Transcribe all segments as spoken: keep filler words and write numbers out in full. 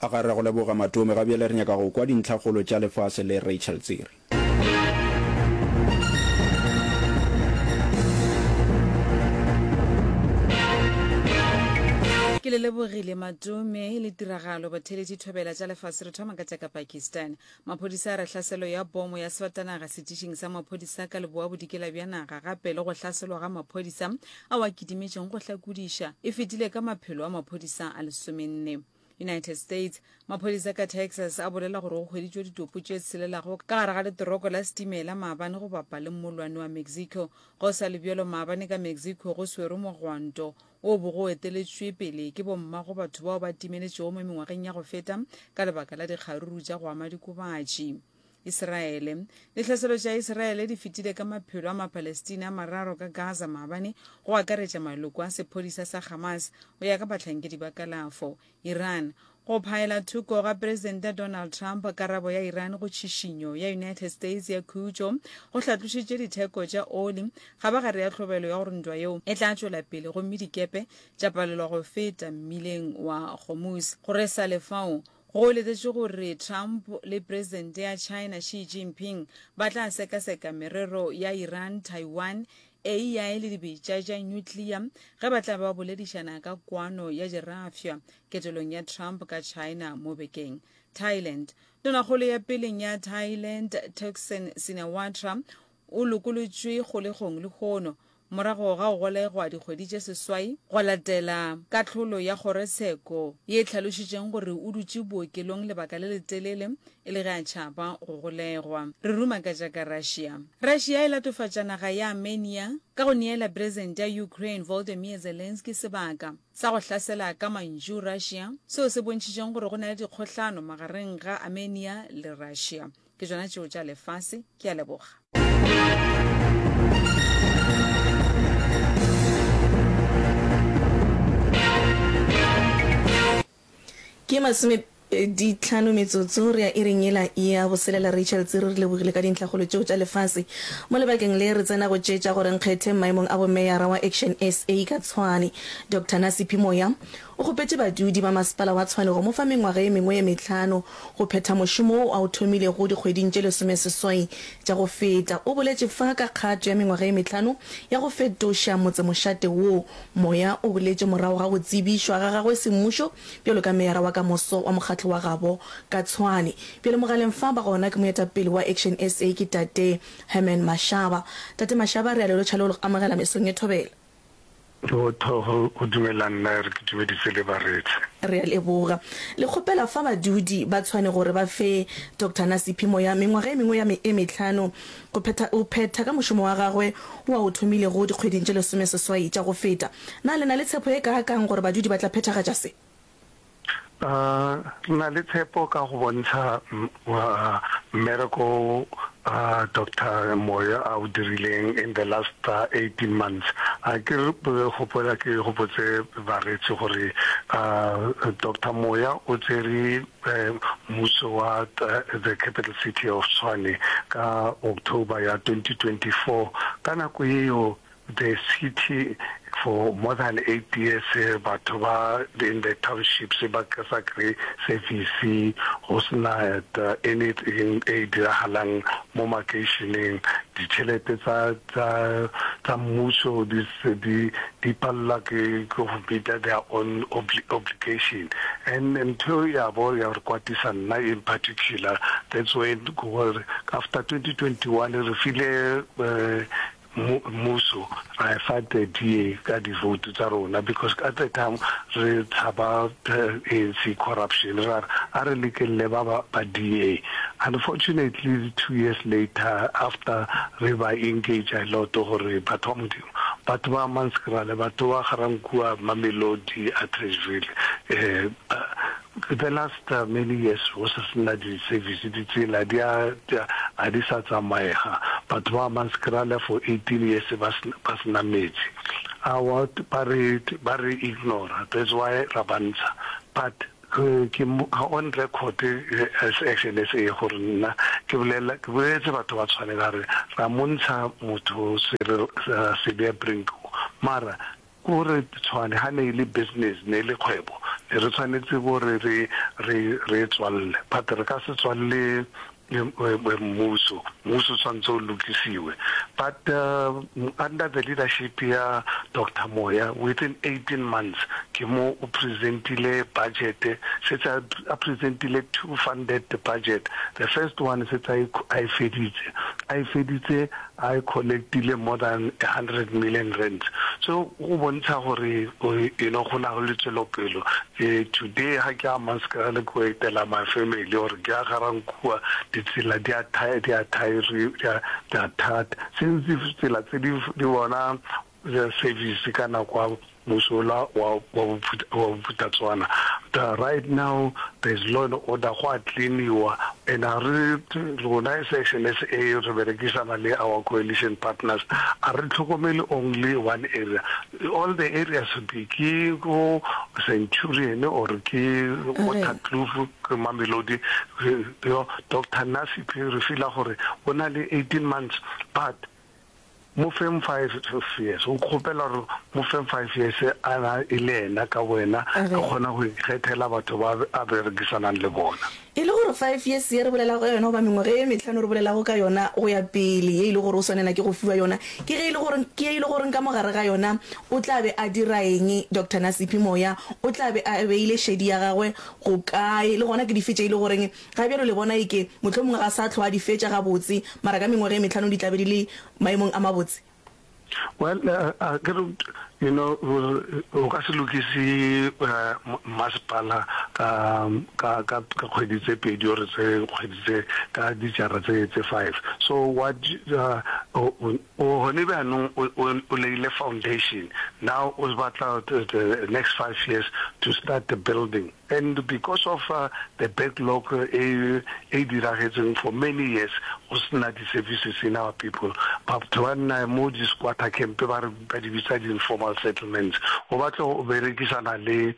A ga re go leboga Matome, ga bjale re nyaka go kwa dintlhakgolo tša lefase le Rachel Tsiri. Ke le lebogile Matome le tiragalo batheeletši thobela tša lefase re thoma ka tša ka Pakistan. Maphodisa a re hlaselo ya bomo ya sefatanaga setišing sa maphodisa ka leboa bodikela bja naga gape le go hlaselwa ga maphodisa ao a kidimetšeng go hlakodiša e fetile ka maphelo a maphodisa a lesomenne. United States, Maphodisa ka Texas a bolela gore go hweditšwe ditopo tše tshelelago ka gare ga leteroko la setimela maabane go bapa le mollwane wa Mexico. Go sa le bjalo, maabane ka Mexico go swerwe mogwanto wo bo go eteletšwe pele ke bommago batho bao ba timeletšego mo mengwageng ya go feta ka lebaka la dikgaruru tša go ama dikobatši. Israele. Ditlhaselo tša Israele di fetile ka maphelo a Mapalestina a mararo ka Gaza maabane, go akaretša maloko a sephodisa sa Hamas, go ya ka bahlankedi ba kalafo. Iran. Go phaela thoko ga Presidente Donald Trump karabo ya Iran go tšhišinyo ya United States ya khutšo go hlatlošitše ditheko tša oli ga ba gare ya tlhobelo ya gore ntwa yeo e tla tšwela pele gomme dikepe tša palelwa go feta mmileng wa Hormuz. Go re sa le fao, go letetšwe gore Trump le Presidente ya China Xi Jinping ba tla sekaseka merero ya Iran, Taiwan, A I le dibetša tša nyuklea ge ba tla ba boledišana ka kwano ya dirafša ketelong ya Trump ka China mo bekeng. Thailand. Tonakgolo ya peleng ya Thailand Thaksin Shinawatra o lokolotšwe kgolegong lehono morago ga go golegwa dikgwedi tše seswai go latela kahlolo ya kgorotsheko ye e hlalošitšeng gore o dutše bookelong lebaka le letelele e le ge a tšhaba go golegwa. Re ruma ka tša ka Russia. Russia e latofatša naga ya Armenia ka go neela Presidente ya Ukraine Volodymyr Zelensky sebaka sa go hlasela ka mantšu Russia, seo se bontšhitšeng gore go na le dikgohlano magareng ga Armenia le Russia. Ke tšona tšeo tša lefase. Ke a leboga. Ke masomepedi tlhano metsotso re ya iring yela ya boselela. Rachel Tsiri, re lebogile ka dintlhakgolo tšeo tša lefase. Mo lebakeng le re tsena go tše tša gore nkgethe maemong a bomeyara wa Action S A ka Tshwane. Doctor Nasiphi Moya o kgopetše badudi ba masepala wa Tshwane go mo fa mengwaga ye mengwe ye mehlano go phetha mošomo wo a o thomilego dikgweding tše lesomeseswai tša go feta. O boletše fa ka kgato ya mengwaga ye mehlano ya go fetoša motsemošate wo. Moya o boletše morago ga go tsebišwa ga gagwe semmušo bjalo ka meyara wa ka moso wa mokgatlo wa gabo ka Tshwane. Bjale mogaleng fa ba gona ke moetapele wa Action S A ke Tate Herman Mashaba. Tate Mashaba, re a le lotšha le go le amogela mesong ye thobela. Go go dumela nna re ke dumedise le baretsi. Re a leboga. Le kgopela fa badudi ba Tshwane gore ba fe Doctor Nasiphi Moya mengwaga e mengwe ya e mehlano go phetha go phetha ka mošomo wa gagwe wo a o thomilego dikgweding tše lesomeseswai tša go feta. Na le na le tshepo e kaakang gore badudi ba tla phethagatša se? Uh, re na le tshepo ka go bontsha mmereko uh, Doctor Moya a o dirileng in the last uh, eighteen months. A ke re gopola ke gopotse baretsi gore uh, Doctor Moya o tsere mmuso wa the capital city of Tshwane ka October ya twenty twenty-four. Ka nako eo the city for more than eight years batho ba in the townships ba sa kry service, go sena anything e diragalang mo makeišeneng, ditšhelete tsa tsa tsa mmuso di di di palela ke go meet their own obligation, and ntho ya bo ya re kwatisa nna in particular. That's when gore after twenty twenty-one re file uh, mmuso ra e fa the D A ka di-vote tsa rona, because at the time re tshaba A N C corruption, ra a re lekelle ba ba D A. Unfortunately, two years later, after re ba engage a lot gore batho ba Modimo, batho ba Hammanskraal, batho ba Ga-Rankuwa, Mamelodi, Atteridgeville, um the last uh, many years go sa sena di-service, ditsela di a a di sa tsamaega, batho ba Hammanskraal for eighteen years ba sena metsi awa, ba re ba re ignore. That's why ra bantsha, but ke on record as Action S A gore nna ke bolela, ke boleletse batho ba tshwane ka re ra montsha motho Cilliers Brink, mara Gore Tshwane ga ne e le business, ne e le kgwebo, ne re tshwanetse gore re re re tswalle, but re ka se tswalle mmuso. Mmuso tshwanetse o lokisiwe. But uh, under the leadership ya Doctor Moya, within eighteen months ke mo o presentile budget, setse a presentile two funded budget. The first one setse a e feditse a e feditse a collectile more than a hundred million rands. So go bontsha gore, you know go na le tswelopelo. Today ga ke a Hammanskraal ko etela my family or ke a Garankuwa, ditsela di a di a di a di a thata since tsela tse di di bona service ka nako mosola wa wa Bophuthatswana. Right now there's law and order, go a cleaniwa, and a re rona as Action S A re berekisana le our coalition partners, a re tlhokomele only one area, all the areas, be ke go Centurion or ke Waterkloof, ke Mamelodi. Doctor Nasiphi re feela gore o na le eighteen months, but mo feng five years, o kgopela gore mo feng five years a na e le ena ka wena a kgona go ikgethela batho ba a berekisanang le bona. E le gore five years ye re bolelago ka yona, goba mengwaga e metlhano re bolelago ka yona go ya pele, ye e le gore o swanela ke go fiwa yona, ke ge e le gore ke e le gore ka mogare ga yona o tla be a dira eng? Doctor Nasiphi Moya o tla be a beile šedi ya gagwe go kae, le gona ke di fetše e le goreng ga bjalo le bona eke mohlomongwe ga sa tlhoa di fetša gabotse, mara ka mengwaga e metlhano di tla be di le maemong a mabotse? Well, uh, uh, you know, o ka se lokise masepala ka ka ka kgwedi tse pedi or tse kgwedi tse ka dijara tse tse five. So what uh, o hone bjanong o leile foundation, now o batla the next five years to start the building. And because of uh, the backlog e e diragetseng for many years, go sena di-services in our people, batho ba nna mo di-squatter camp, ba re ba di bitsa di-informal settlements. O batla go berekisana le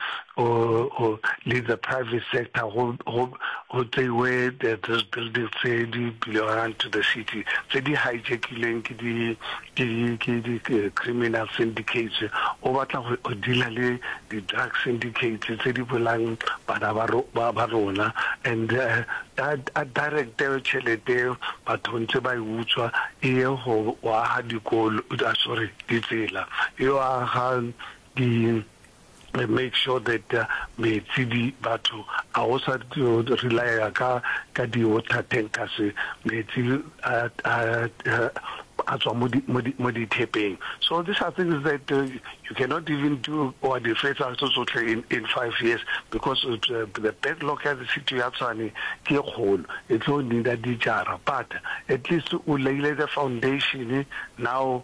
le the private sector go go go tseiwe those buildings tse di belong to the city, tse di hijackileng ke di ke ke di criminal syndicates. O batla go deala le di-drug syndicates tse di bolang bana ba rona, and uh, a direct tšhelete batho ntse ba e utswa e ye go aga dikolo, sorry, ditsela, e yo aga di make sure that uh, metsi di batho a o sa relya ka ka di water tankers, metsi a a a tswa mo mo dithepeng. So these are things that uh, you cannot even do or di fetsa tso tsotlhe in in five years, because uh, the backlog ya the city ya Tshwane ke kgolo, e tlo need dijara, but at least o leile the foundation. Now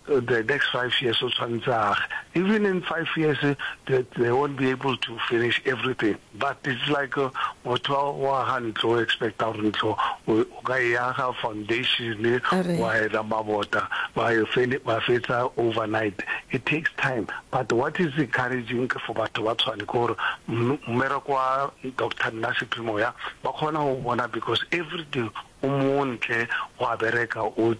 the next five years o tshwanetse age. Even in five years they, they won't be able to finish everything, but it's like motho wa aga ntlo, o expecta gore ntlo o ka e aga foundation, wa ela mabota, wa fetsa overnight. It takes time. But what is encouraging for batho ba Tshwane ke gore mmereko wa Doctor Nasiphi Moya ba kgona go bona, because every day o montle go a bereka, o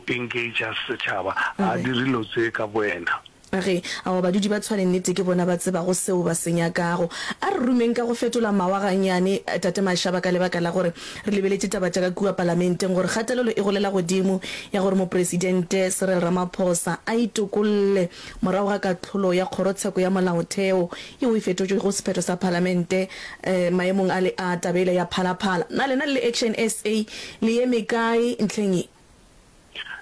engage setšhaba, a dire dilo tse ka boena. Ge ao badudi ba Tshwane nnete ke bona ba tsebago seo ba se nyakago. A re rumeng ka go fetola mawa gannyane, Tate Mashaba, ka lebaka la gore re lebeletše taba tša ka kua palamenteng, gore kgatelelo e golela godimo ya gore mopresidente Cyril Ramaphosa a itokolle morago ga katlholo ya kgorotsheko ya molaotheo yeo e fetotšego sephetho sa palamente eh, maemong a le a tabele ya Phalaphala. Na lena le Action S A le eme kae ntlheng ye?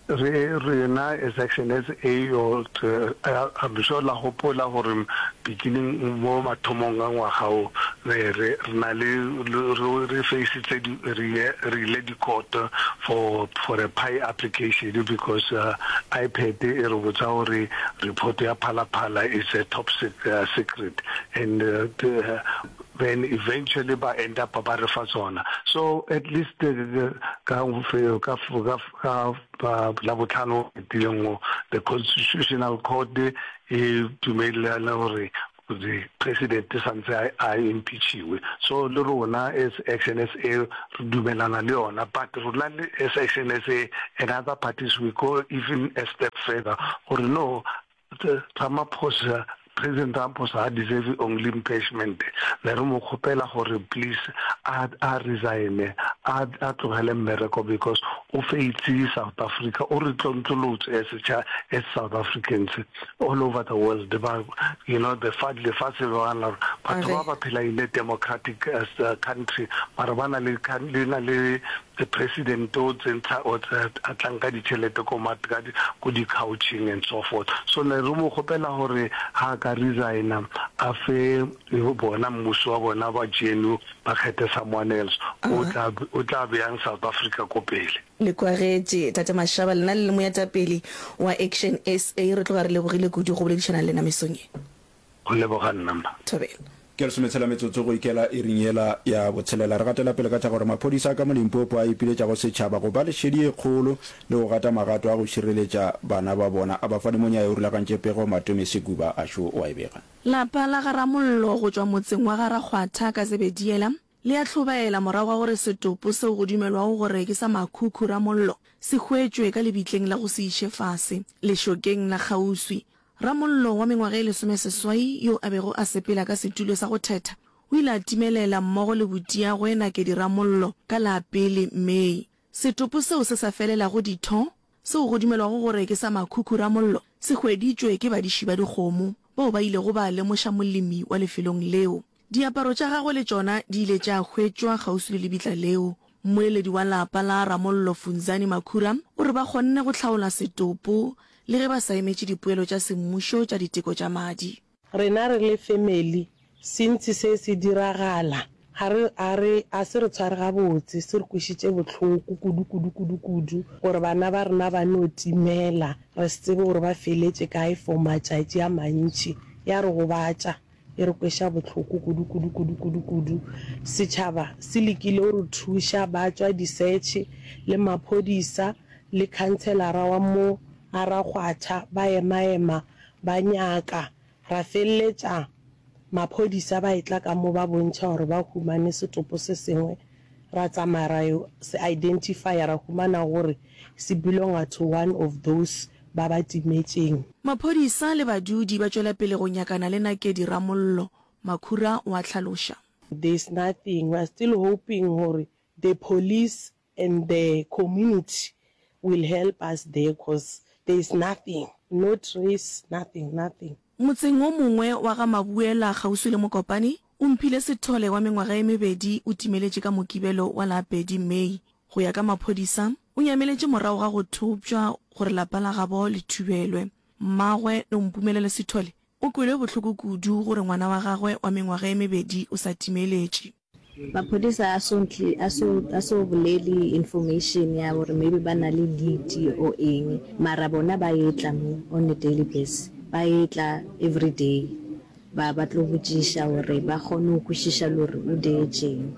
Re rena as Action S A, o I'm sure la gopola gore beginning mo mathomong a ngwaga o re re na le re faceitse re ile di-court for for a P I application, because uh, iPad e re botsa gore report ya Phalaphala is a top uh, secret, and uh, the, then eventually ba end up ba re fa tsona. So at least ka ka ka la botlhano tileng, the Constitutional Court e dumelelana gore the president santse a impeachiwe. So le rona as Action S A re dumelana le yona, but rona le as Action S A and other parties, we go even a step further gore no, Ramaphosa, President Ramaphosa ga deserve only impeachment, ne re mo kgopela gore please a a resign-e, a a tlogele mmereko because o faitse South Africa, o re tlontlolotse as setšha as South Africans all over the world, ba you know the fa lefatshe le bona gore batho ba ba phela in a democratic country mara ba na le le na le The president o tsentsha o a tlang ka ditšhelete ko ma ka ko di couching and so forth. So ne re mo kgopela gore ha a ka resigna a fe bona mmuso wa bona ba G N U ba kgethe someone else o tla o tla beyang South Africa ko pele. Le kwagetše, Tate Mashaba, lena le le moetapele wa Action S A, re tloga re lebogile kudu go boledišana le lena mesong ye. Go leboga nna mma. Thobela. Ke lesometshela metsotso go ikela iring yela ya botshelela. Re gatela pele ka tša gore maphodisa a ka mo Limpopo a ipiletša go setšhaba go ba le šedi ye kgolo le go gata magato a go šireletša bana ba bona. Abafani Monyae o rulagantše pego, Matome Sekuba a šo o a e bega. Lapa la ga Ramollo go tšwa motseng wa ga Rakgwatha ka Zebediela le a hlobaela morago ga gore setopo seo go dumelwago gore ke sa Makhukhu Ramollo se hwetšwe ka lebitleng la go se iše fase lešokeng la kgauswi. Ramollo wa mengwaga e lesomeseswai yo a bego a sepela ka setulo sa go thetha o ile a timelela mmogo le butiagwe Nakedi Ramollo ka la pele May. Setopo seo se sa felelago ditho, seo go dumelwago gore ke sa Makhukhu Ramollo, se hweditšwe ke badiši ba dikgomo bao ba ilego ba lemoša molemi wa lefelong leo. Diaparo tša gagwe le tšona di ile tša hwetšwa kgauswi le lebitla leo. Mmoleledi wa lapa la Ramollo Funzani Makhura o re ba kgonne go hlaola setopo le ge ba sa emetše dipoelo tša semmušo tša diteko tša madi. Rena re le family since se se diragala ga re ga re a se re tshware gabotse, se re kwešitše bohloko kudu kudu kudu kudu gore bana ba rena ba no timela re se tsebe gore ba feletše kae for matšatši a mantši, ya re gobatša. E re kweša bohloko kudu, kudu, kudu, kudu, kudu. Setšhaba se lekile go re thuša, ba tšwa di-search, le maphodisa, le khanselara wa mo a Rakgwatha, ba ema-ema ba nyaka. Ra feleletša maphodisa ba etla ka mo ba bontšha gore ba humane setopo se sengwe. Ra tsamaya ra yo se identifya, ra humana gore se belonga to one of those ba ba timetšeng. Maphodisa le badudi ba tšwela pele go nyakana le Nakedi Ramollo, Makhura o a hlaloša. There's nothing, we are still hoping gore the police and the community will help us there cause there is nothing, no trace, nothing, nothing. Motseng wo mongwe wa ga Mabuela kgauswi le Mokopane, Omphile Sithole wa mengwaga e mebedi o timeletše ka Mokibelo wa la pedi May. Go ya ka maphodisa, o nyameletše morago ga go thopša gore lapa la gabo le thubelwe. Mmagwe, Nompumelelo Sithole, o kwelwe bohloko kudu gore ngwana wa gagwe wa mengwaga e mebedi o sa timeletše. Maphodisa a so a so a so bolele information ya gore maybe ba na le lead or eng mara bona ba etla mo on a daily base ba etla everyday ba ba tlo botšiša gore ba kgone go kwešiša le gore o dietšeng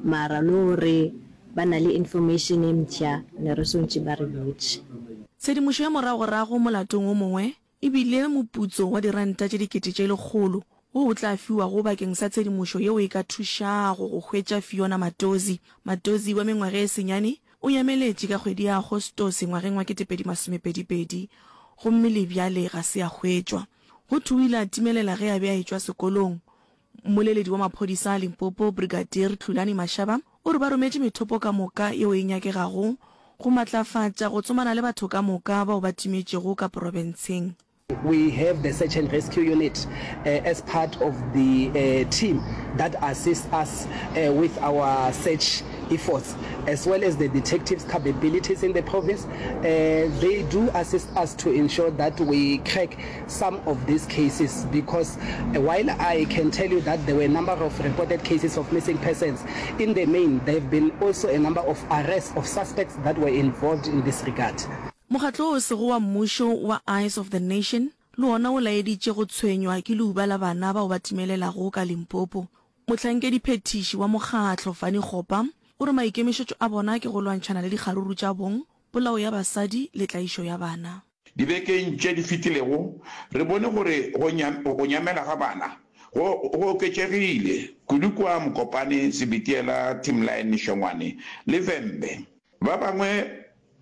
mara le gore ba na le information e mpsha ne re swantše ba re botše. Tshedimošo ya moragorago molatong o mongwe e bile moputso wa diranta tše dikete tše lekgolo wo o tla fiwago bakeng sa tshedimošo yeo e ka thušago go hwetša Fiona Matozi. Matozi wa mengwaga e senyane o nyameletše ka kgwedi ya Agostose ngwageng wa ketepedi masomepedi pedi gomme le bjale ga se a hwetšwa. Go thwe o ile a timelela ge a be a etšwa sekolong. Mmoleledi wa maphodisa a Limpopo, Brigadier Hlulani Mashaba o re ba rometše methopo ka moka yeo e nyakegago go matlafatša go tsomana le batho ka moka bao ba timetšego ka porofenseng. We have the search and rescue unit as part of the team that assists us with our search efforts as well as the detectives capabilities in the province. They do assist us to ensure that we crack some of these cases because while I can tell you that there were a number of reported cases of missing persons, in the main there have been also a number of arrests of suspects that were involved in this regard. Mokgatlo o sego wa mmušo wa Eyes of the Nation le wona o laeditše go tshwenywa ke leuba la bana bao ba timelelago ka Limpopo. Mohlankediphethiši wa mokgatlo, Fanny Kgopa, o re maikemišetšo a bona ke go lwantšhana le dikgaruru tša bong, polao ya basadi le tlaišo ya bana. Dibekeng tše di fetilego, re bone gore go nyamela ga bana go go oketšegile, kudu kua Mokopane, Sebitiela, Timline, Shongwane le Vhembe. Ba bangwe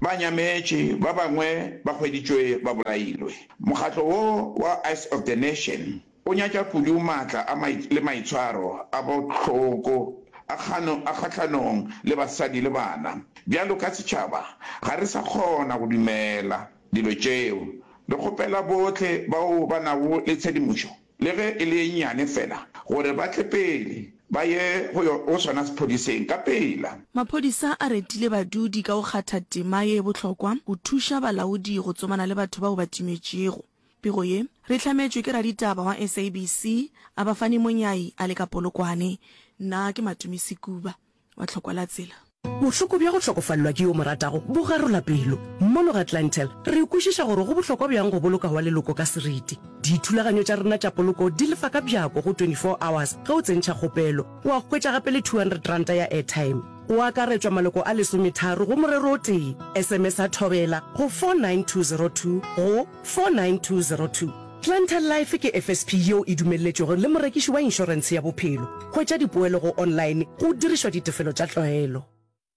ba nyametše, ba bangwe ba hweditšwe ba bolailwe. Mokgatlo wo wa Eyes of the Nation o nyatša kudu maatla a le maitshwaro a bohloko a a kgahlanong le basadi le bana. Bjalo ka setšhaba, ga re sa kgona go dumela dilo tšeo. Re kgopela bohle bao ba nago le tshedimošo, le ge e le ye nnyane fela, gore ba tle pele ba ye go yo go sona sephodiseng ka pela. Maphodisa a retile badudi ka go kgatha tema ye bohlokwa go thuša balaodi go tsomana le batho bao ba timetšego. Pego ye re e hlametšwe ke raditaba wa SABC, Abafani Monyai a le ka Polokwane. Nna ke Matumi Sekuba wa Tlhokwa la Tsela. Bohloko bja go hlokofalelwa ke yo o mo ratago bo garola pelo. Mono ga Clientele, re kwešiša gore go bohlokwa bjang go boloka wa leloko ka seriti. Dithulaganyo tša rena tša poloko di lefa ka bjako go twenty four hours ge o tsentšha kgopelo. Wa hwetša gape le two hundred ranta ya airtime. Go akaretšwa maloko a lesometharo go morero o tee. S M S-a Thobela go four nine two zero two go four nine two zero two. Clientele Life ke F S P yeo e dumelletšwego le morekiši wa inšorentshe ya bophelo. Hwetša dipoelo go online go dirišwa ditefelo tša tlwaelo.